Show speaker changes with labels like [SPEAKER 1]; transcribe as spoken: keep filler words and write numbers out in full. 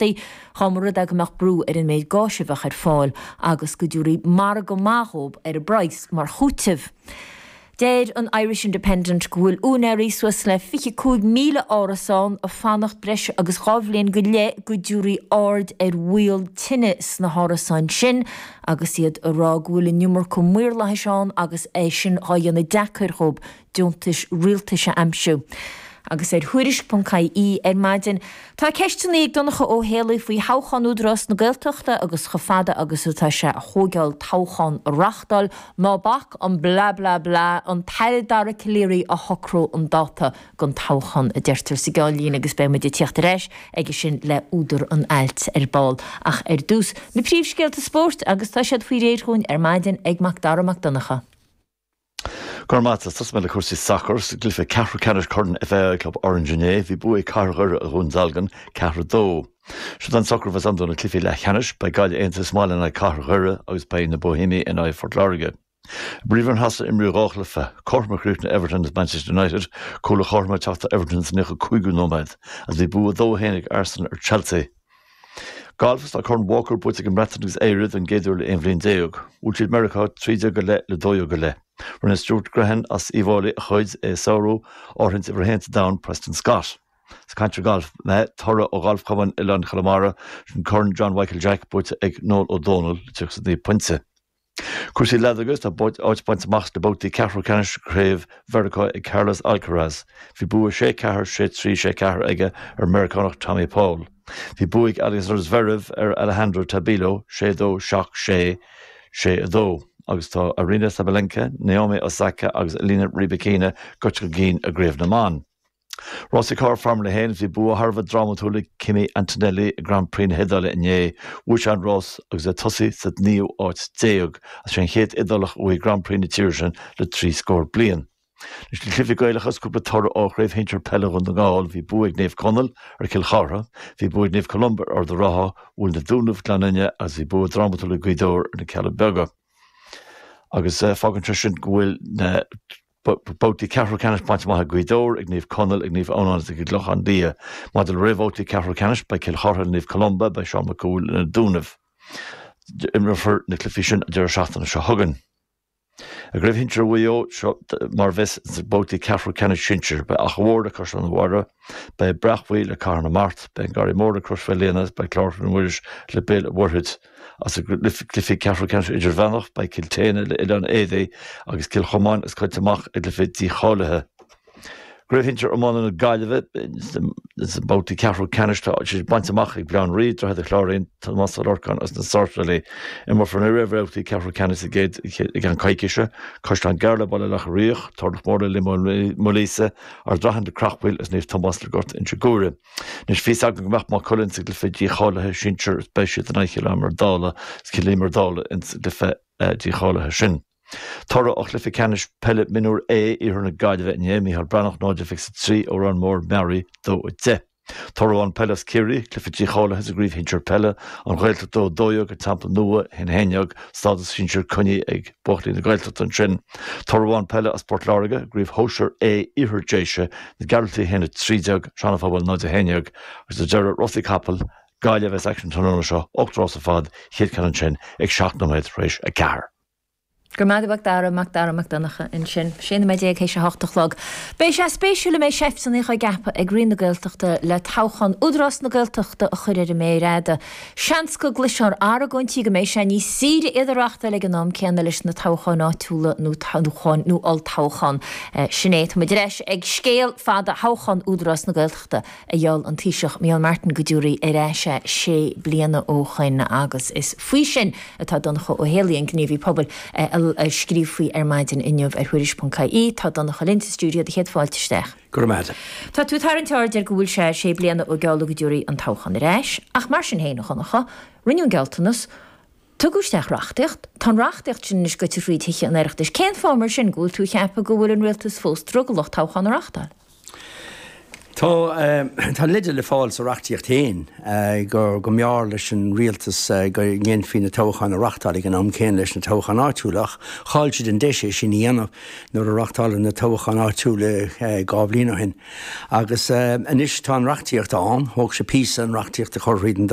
[SPEAKER 1] Dá mba rud é go mbeadh brú ar an méid gáis a bheadh ar fáil agus go dtabharfaí margadh maith dhóibh ar an bpraghas mar chúiteamh. Deir an Irish Independent go bhfuil úinéirí suas le fiche cúig míle árasán ag fanacht breis agus dhá bhliain go leith go dtabharfaí aird ar bhaol tine sna hárasáin sin agus iad ag rá go bhfuil an iomarca maorlathais ann agus é sin dhá dhéanamh deacair dhóibh deontais rialtais a aimsiú. Agus ar Thuairisc ponc ie ar maidin, tá ceisteanna ag Donncha Ó Héalaí faoi thoghchán Údarás na Gaeltachta agus chomh fada agus atá sé a thógáil toghchán a reáchtáil, ná bac an blah blah blah an tAire Dara Calleary a shocródh an dáta don toghchán, a deirtear sa gceannlíne agus beidh muid ag tíocht ar ais aige sin le údar an ailt ar ball. Ach ar dtús, na príomhscéalta spóirt agus tá siad faoi réir dhúinn ar maidin ag Mac Dara Mac Donncha.
[SPEAKER 2] Go raibh maith agat. Tosóidh mé le cúrsaí sacair. Sa gcluiche ceathrú ceannais Corn FAI Club Orange inné, bhí bua ag Cathair Dhoire ar Dhún Dealgan, ceathrú a dó. Siod an socrú a bheas ann do na cluichí leathcheannais, beidh Gaillimh Aontaithe sa mbaile in aghaidh Cathair Dhoire agus beidh na Boihéamaigh in aghaidh Phort Láirge. I bPríomhroinn Shasana imríodh dhá chluiche, cothrom a chríochnaigh Everton agus Manchester United, cúl ar chothrom ag teacht do Everton sa naocha cúigiú nóiméad agus bhí bua dó a haon ag Arsenal ar Chelsea. Galf Tá Corn Walker buaite ag an mBreatain agus Éire don gcéad uair le aon bhliain déag. Bhuail siad Meiriceá trí déag go leith le dó dhéag go leith. Rinne Stuart Grehan as Uíbh Fhailí a chuid é ag sárú áirithint uimhir a haon sa domhan Preston Scott. Ag caint ar ghalf mé, toradh ó Ghalf Chumann Oileán Chonamara, sin Corn John Mhichael Jack buaite ag Noel Ó Dónaill le tríocha is a naoi pointe. Cúrsaí leadóige Tá áit bainte amach sna babhtaí ceathrú ceannais Chraobh Mheiriceá ag Carlos Alcaraz. Bhí bua sé ceathair, sé trí, sé ceathair aige ar Meiriceánach Tommy Paul. Bhí bua ag Alexander Zverev ar Alejandro Tabilo sé dó seacht sé, sé a dó. Agus tá Aryna Sabalenka, Naomi Osaka agus Elena Rybakina gaibhte chun cinn i gcraobh na mban. Rásaí Carr Formula a haon Bhí bua thar a bheith drámatúil ag Kimi Antonelli i Grand Prix na hIodáile inné. Bhuaigh sé an rás agus é ag tosaí sa naoú áit déag. Is é an chéad Iodálach a bhuaigh Grand Prix na tíre sin le trí scór bliain. Leis na cluichí Gaelacha is cúpla toradh ó Chraobh Shinsir Peile Dhún na nGall, bhí bua ag Naomh Conaill ar Chill Chartha, bhí bua ag Naomh Columba ar Ard an Rátha, bhuail na Dúnaibh Gleann Fhinne agus bhí bua drámatúil ag Gaoth Dobhair ar na Cealla Beaga. Agus fágann sé sin go bhfuil na babhtaí ceathrú ceannais bainte amach ag Gaoth Dobhair, ag Naomh Conaill, ag Naomh Adhamhnáin agus ag an gClochán Liath. Maidir le réamhbhabhtaí ceathrú ceannais, beidh Cill Chartha le Naomh Columba, beidh Seán Mac Cumhaill le na Dúnaibh. Imreofar na cluichí sin an deireadh seachtaine seo chugainn. I gCraobh Shinsir Mhaigh Eo, seo mar a bheas sna babhtaí ceathrú ceannais sinsir, beidh Achadh Mhór le Caisleán an Bharraigh, beidh Breac Buí le Cathair na Mart, beidh an Garraí Mór le Crois Mhaoilíona agus beidh Clár Chluain Mhuiris le Béal an Mhuirthead. As i gcluichí ceathrú ceannais idirmheánach, beidh Cill tSéadhna le Oileán Éadaí agus Cill Chomáin agus Coillte Mach i gcluiche dícháilithe. Craobh Shinsir Iomána na Gaillimhe, sna babhtaí ceathrú ceannais tá siad bainte amach ag Baile Átha an Rí, Droichead an Chláirín, Tomás Ó Lorcáin agus na Sáirséalaigh. Imreofar na réamhbhabhtaí ceathrú ceannais i gcéad i gceann coicíse, Caisleán Gearr le Baile Locha Riach, Turlough Mór le Liath Maoilíosa, Ard Raithin le Creachmhaoil agus Naomh Tomás le Gort Inse Guaire. Anois bhí a fhios agam go mbeadh Maigh Cuilinn sa gcluiche dícháilithe sinsir is beidh siad in aghaidh Chill Íomair Dála, Cill Íomair Dála ins an gcluiche dícháilithe sin. Toradh ó chluiche ceannais peile mionúr A Iarthar na Gaillimhe inné, Micheál Breathnach náid fiche a trí, Órán Mór Mearaí dó a deich. Toradh amháin peile as Ciarraí, cluiche dícháilithe sa gcraobh shinsir peile, An Ghaeltacht dó a dó dhéag, An Teampall Nua a haon a haon déag, stádas sinsir coinnithe ag buachaillí na Gaeltachta ansin. Toradh amháin peile as Port Láirge, gcraobh shóisir A Iarthar Déise, Na Gearaltaigh a haon a trí déag, Sean an Phobail náid a haon déag agus ar deireadh rásaí capall, Gaillimh as aicsean tráthnóna seo, ocht rás ar fad, chéad ceann ansin ag seacht nóiméad tar éis a ceathair.
[SPEAKER 1] Go raibh maith agat, Dara, Mac Dara Mac Donncha ansin. Sé nóiméad déag théis a hocht a chlog. Beidh sé spéisiúil an mbeidh seifteanna á gceapadh ag Roinn na Gaeltachta le toghchán Údarás na Gaeltachta a chur ar an méar fhada. Seans go gcloisfear argóintí go mbeidh sé níos saoire iad a reáchtáil ag an am céanna leis na toghcháin áitiúla nó toghcháin nó olltoghchán. Sin é, tá muid ar ais ag scéal fada thoghchán Údarás na Gaeltachta a gheall an Taoiseach Micheál Martin go dtabharfaí ar ais é sé bliana ó shoin agus is faoi sin atá Donncha Ó Héalaí, an gníomhaí pobail, ag scríobh faoi ar maidin inniu ar Thuairisc ponc ie. Tá Donncha linn sa stiúideo, do chéad fáilte isteach.
[SPEAKER 3] Go raibh maith agat.
[SPEAKER 1] Tá tú ag tarraingt aird ar go bhfuil sé sé bliana ó gealladh go dtabharfaí an toghchán ar ais, ach mar sin féin, a Dhonncha, rinneadh an gealltanas, tugadh isteach reachtaíocht, tá an reachtaíocht sin anois goite fríd Thithe an Oireachtais. Cén fáth mar sin go bhfuil tú ag ceapadh go bhfuil an rialtas fós drogallach toghchán a reáchtáil?
[SPEAKER 3] Tá tá leide le fáil sa reachtaíocht féin go go mb'fhearr leis an rialtas go ndéanfaí na toghcháin a reáchtáil ag an am céanna leis na toghcháin áitiúla ach chaill siad an deis é sin a dhéanamh nuair a reáchtáladh na toghcháin áitiúla dhá bhliain ó shin. Agus anois tá an reachtaíocht ann, thóg sé píosa an reachtaíocht a chur thríd an